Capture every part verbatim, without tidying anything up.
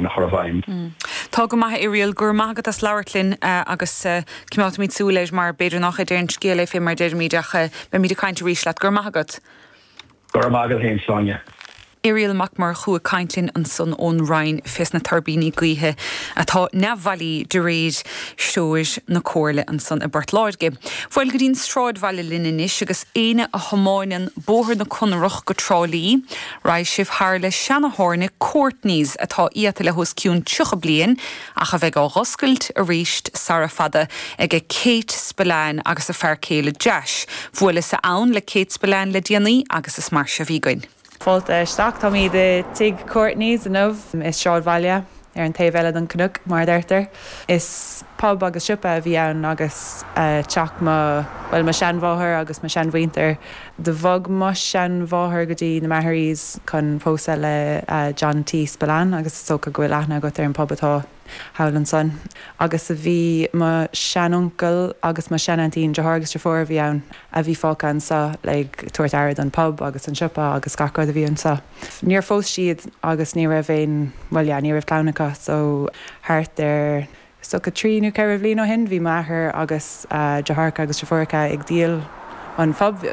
a chur i bhfeidhm. Tá go maith Irial gur maith as labhairt linn uh, agus uh, coimeádfaimid súil air mar b'fhéidir nach é an scéal é fé mar deirimid ach uh, beimid ag caint arís leat gur maith agat. Gur maith agat Sonia. Irial Mac Murchú ag caint linn ansan ón Rinn fés na tuirbíní gaoithe atá neamhbhailí de réir threoir na Comhairle ansan i bPort Láirge. Bhuel go dtí'n sráidbhaile linn anois agus éinne a thiomáineann Bóthar na Conrach go Trá Lí, raghaidh sibh thar le seantábhairne Courtney's atá iata le hos cionn tríocha bliain ach a bheidh á oscailt arís sara fada ag Kate Spillane agus a fear céile Jash. Bhuaileas-sa ann le Kate Spillane le déanaí agus is mar seo a bhí againn. Fáilte isteach táimid i dtigh Courtney's inniu i sráidbhaile ar an taobh eile den cnoc mar deirtear. Is pub agus siopa a bhí ann agus uh, teach mo well mo seanmháthair agus mo seanmhuintir. Do bhog mo seanmháthair go dtí na Maharees chun pósadh le uh, John T. Spillane agus is dócha go bhfuil aithne agat ar an pub atá thall ansan. Agus a bhí mo seanuncail agus mo seanaintín deartháir agus deirfiúr a bhí ann a bhí fágtha anseo le tabhairt aire don pub agus an siopa agus gach rud a bhí anseo. Níor phós siad agus ní raibh aon well yeah, ní raibh clann acu so thart ar so go trí nó ceithre bliana ó shin bhí m'athair agus uh, deartháireacha agus deirfiúracha ag díol an phub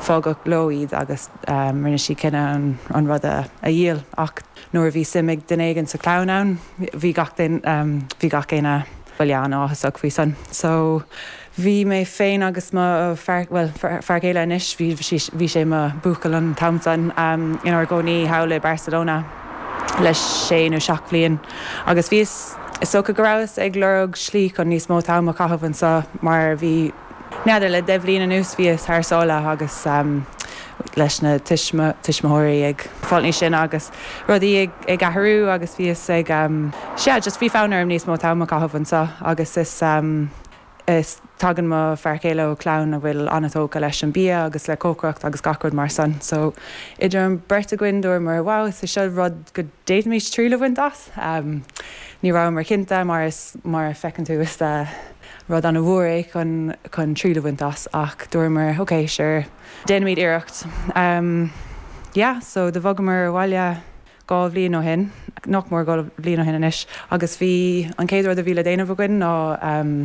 fágadh leo iad agus um, rinne siad cinneadh an, an rud a, a dhíol ach nuair a bhí suim ag duine éigin sa chlann ann bhí gach um, bhí gach éinne bhuel an-áthasach faoi san. So bhí mé féin agus mo fear well fear céile anois bhí bhí sé mo bhuachaill an t-am san um, inár gcónaí thall i Barcelona le sé nó seacht bliain agus bhí is dócha go rabhas ag lorg slí chun níos mó am a chaitheamh anseo mar bhí N'fheadar le deich mbliana anuas bhíos thar sáile agus um, leis na tuismitheoirí ag fáil níos sine agus rudaí ag, ag athrú agus bhíos ag um, sé just bhí fonn orm níos mó am a chaitheamh anseo agus is um, is tagann mo fear céile ó chlann a bhfuil an-tógtha leis an bia agus le cócaireacht agus gach rud mar san. So idir an bheirt againn dúramar wow is seo rud go d'fhéadfaimis triail a bhaint as. Um, ní rabhamar cinnte mar is mar a feiceann tú is uh, rud an-mhór é chun chun triail a bhaint as ach dúramar okay sure déanaimid iarracht. Um, yeah, so do bhogamar abhaile dhá bhliain ó shin nach mór dhá bhliain ó shin anois agus bhí an chéad rud a bhí le déanamh againn ná um,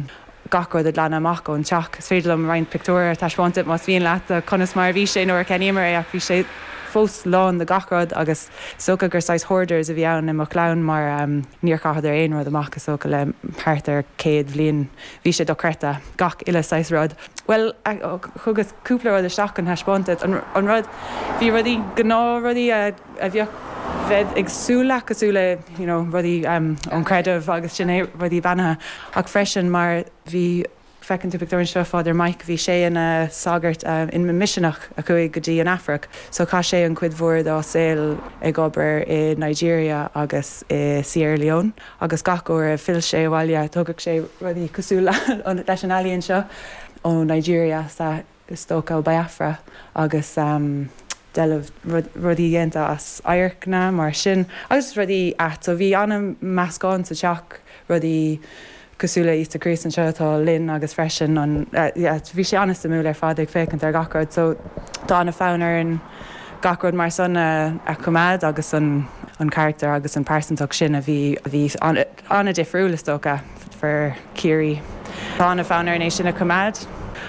gach rud a ghlanadh amach ón teach. Is féidir liom roinnt pictiúr a thaispeáint más mian leat conas mar bhí sé nuair a cheannaíomar é ach bhí sé fós lán de gach rud agus is dócha gur saghas hoarders a bhí ann i mo chlann mar um, níor chaitheadar aon rud amach is dócha le thart ar céad bhliain bhí sé dochreidte gach uile saghas rud. Well thugas cúpla rud isteach an thaispeáint an, an rud bhí rudaí gnáthrudaí a, a bheadh bheith ag súil cosúil le you know, rudaí um, ón creideamh agus sin é rudaí beannaithe ach freisin mar bhí feiceann tú pictiúr seo Father Mike bhí sé ina sagart um, in miseanach a chuaigh go dtí an Afraic, so chaith sé an chuid mhór dá shaol ag obair i Nigeria agus i Sierra Leone, agus gach uair a phill sé abhaile tugadh sé rudaí cosúil leis an ealaín seo ó Nigeria sa is dócha ó Biafra agus um, deilbh rudaí déanta as adharcanna mar sin agus rudaí ait so bhí an-mheascán sa teach rudaí cosúil le Íosa Críost anseo atá linn agus freisin an bhí sé an-suimiúil ar fad ag féachaint ar gach rud so tá an-fhonn orainn gach rud mar san a, a choimeád agus an an charachtar agus an pearsantacht sin a bhí a bhí an-difriúil is dócha for Ciarraí. Tá an-fhonn orainn é sin a choimeád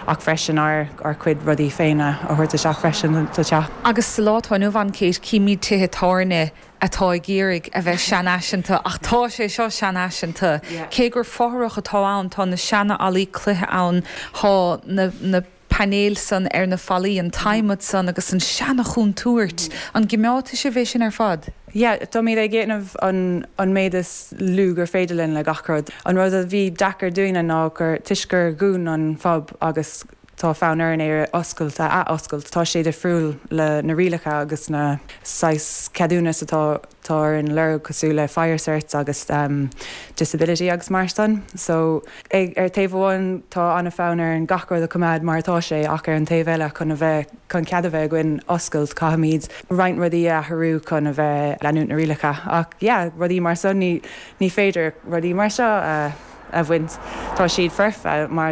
ach freisin ár ár gcuid rudaí féin a thabhairt isteach freisin sa teach. Agus sa lá atá inniu ann Kate címid tithe tábhairne atá ag iarraidh a bheith seanfhaiseanta ach tá sé seo seanfhaiseanta. Cé gur fothrach atá ann tá na seanfhallaí cloiche ann tá na, na painéil san ar na fallaí an t-adhmad san agus an seana-chontúirt an gcoimeádfaidh sibh é sin ar fad. Yeah, Tá mé ag déanamh an, an méid is lú gur féidir linn le gach rud. An rud a bhí deacair dúinne ná gur toisc gur dhún an phub agus tá fonn orainn é oscailt a athoscailt tá sé difriúil le na rialacha agus na saghas ceadúnas atá tá ar an lorg cosúil le fire certs agus um, disability agus mar san. So ag, ar taobh amháin tá an-fhonn orainn gach rud a choimeád mar atá sé ach ar an taobh eile chun a bheith chun cead a bheith againn oscailt caithfimid roinnt rudaí a athrú chun a bheith leanúint na rialacha ach yeah, rudaí mar san ní, ní féidir rudaí mar seo uh, a bhaint tá siad foirfe mar